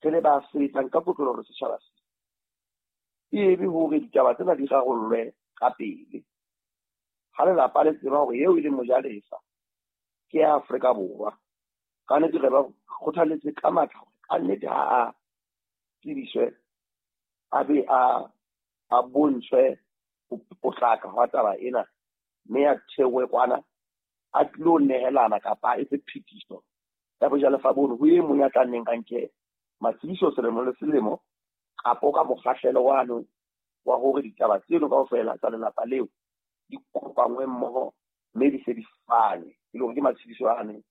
Re le ba sebetsang ka kotloloho le setjhaba se, e be hore ditaba tsena di rarollwe ka pele. Ha lelapa le tseba hore eo e leng mojalefa ke ya Afrika Borwa, ka nnete re ba kgothaletse ka matla hore ka nnete ha a tsebiswe, a be a bontshwe ho potlaka hwa taba ena, mme a theohe kwana a tlilo nehelana kapa a etse phetiso ya bojalefa bono ho e mong ya tla nneng a nke matsebiso selemo le selemo, kapo ka mokgahlelo wano wa hore ditaba tseno kaofela tsa lelapa leo di kopangwe mmoho mme di se di fane, e le hore ke matshediso ane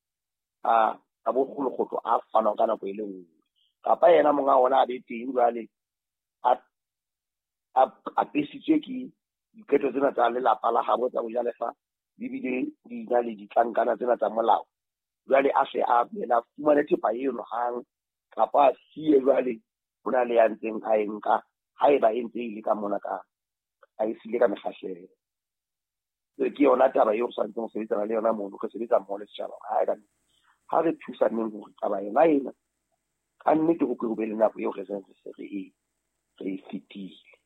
a bokgolokgotlo a fanwang ka nako e le nngwe. Kapa yena monga ona a be teng jwale a apesitswe ke diqeto tsena tsa lelapa la habo tsa bojalefa, di bile di na le ditlankana tsena tsa molao. Jwale a hle a yena fumane thepa eno hang, kapa a siye jwale ho na le ya ntseng a e nka, haeba e ntse e le ka mona ka a e siile ka mekgahlelo. Ke yona taba eo re tshwanetseng ho sebetsana le yona mono, re sebetsa mmoho le setjhaba. Ha ka ha re thusaneng hore taba yona ena ka nnete ho ke ho be le nako eo re seng re se re e fetile.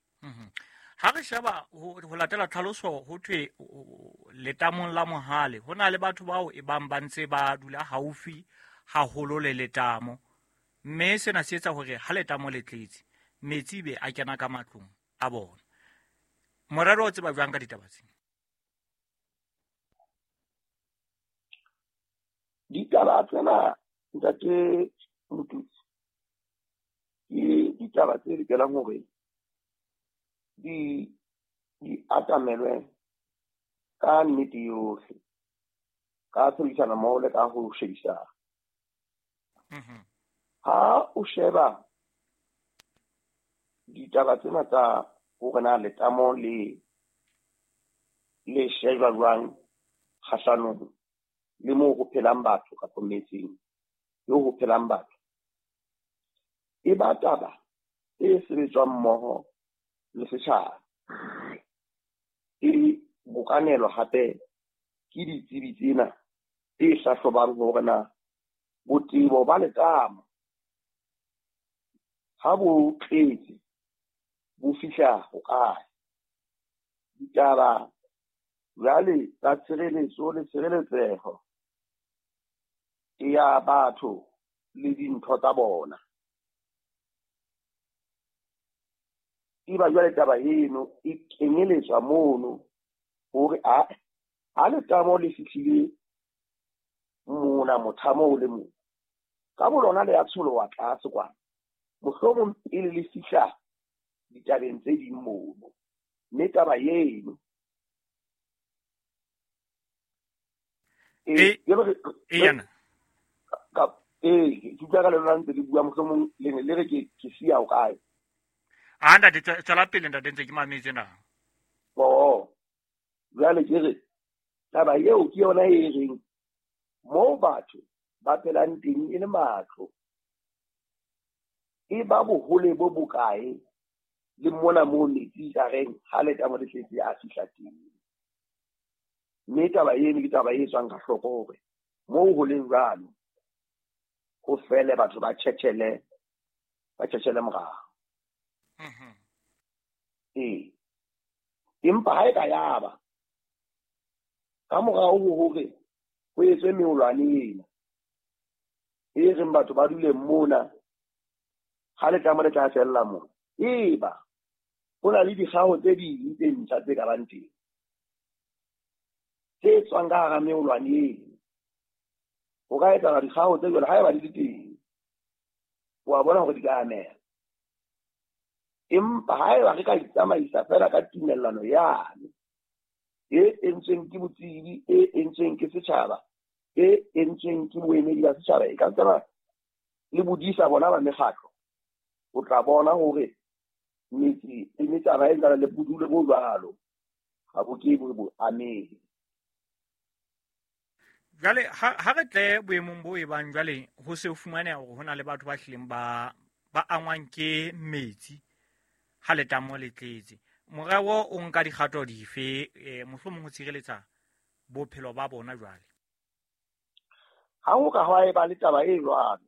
Ha re sheba ho latela tlhaloso ho thwe letamong la Mohale ho na le batho bao e bang ba ntse ba dula haufi haholo le letamo, mme sena se etsa hore ha letamo le tletse metsi be a kena ka matlong a bona. Morero o tseba jwang ka ditaba tsena? Ditaba tsena ntate Motutsi ke ditaba tse lokelang hore di atamelwe ka nnete yohle, ka tshebedisano mmoho le ka ho shebisana. Ha o sheba ditaba tsena tsa hore na letamo le shejwa jwang kgahlanong le moo ho phelang batho kapa metseng eo ho phelang batho, e ba taba e sebetswang mmoho le setjhaba, e bokanelwa hape ke ditsebi tsena tse hlahlobang hore na botebo ba letamo ha bo tletse bo fihla hokae. Ditaba jwale tsa tshireletso le tshireletseho ya batho le dintho tsa bona, eba jwale taba eno e kenyeletswa mono hore ha letamo le fihlile mona mothamo o le mong, ka bolona le ya tsholoha tlase kwana, mohlomong pele le fihla ditabeng tse ding mono. Mme taba eno ke utlwa ka le lona ntse le bua, mohlomong le ne le re ke siya ho kae. A ntate, tswela pele ntate, ntse ke mametse na. Oh, jwale ke re taba eo ke yona e reng moo batho ba phelang teng e le matlo, e ba bohole bo bokae le mona moo metsi ka reng ha letamo le tletse a fihla teng. Mme taba eno ke taba e tswang ka hloko hore moo ho leng jwalo ho fele batho ba tjhetjhele morao. Ee, empa ha e ka yaba ka morao ho hore ho etswe meolwane ena e reng batho ba dule mona ha letamo le tla fella mona, eba ho na le dikgaho tse ding tse ntjha tse ka bang teng tse tswang ka hara meolwane eno. Ho ka etsahala dikgaho tse jwalo haeba di le teng, wa bona hore di ka ameha. Empa haeba re ka itsamaisa feela ka tumellano yane e entsweng ke botsebi, e entsweng ke setjhaba, e entsweng ke boemedi ba setjhaba, e ka tseba le bodisa bona ba mekgatlo, o tla bona hore metse e metsana e ntsana le bodulo bo jwalo ha bo ke bo amehe. Jwale ha re tle boemong bo e bang jwale ho se fumaneha hore ho na le batho ba hlileng ba angwang ke metsi ha letamo le tletse. Morero o nka dikgato dife mohlomong ho tshireletsa bophelo ba bona jwale? Ha ho ka hwa eba le taba e jwalo,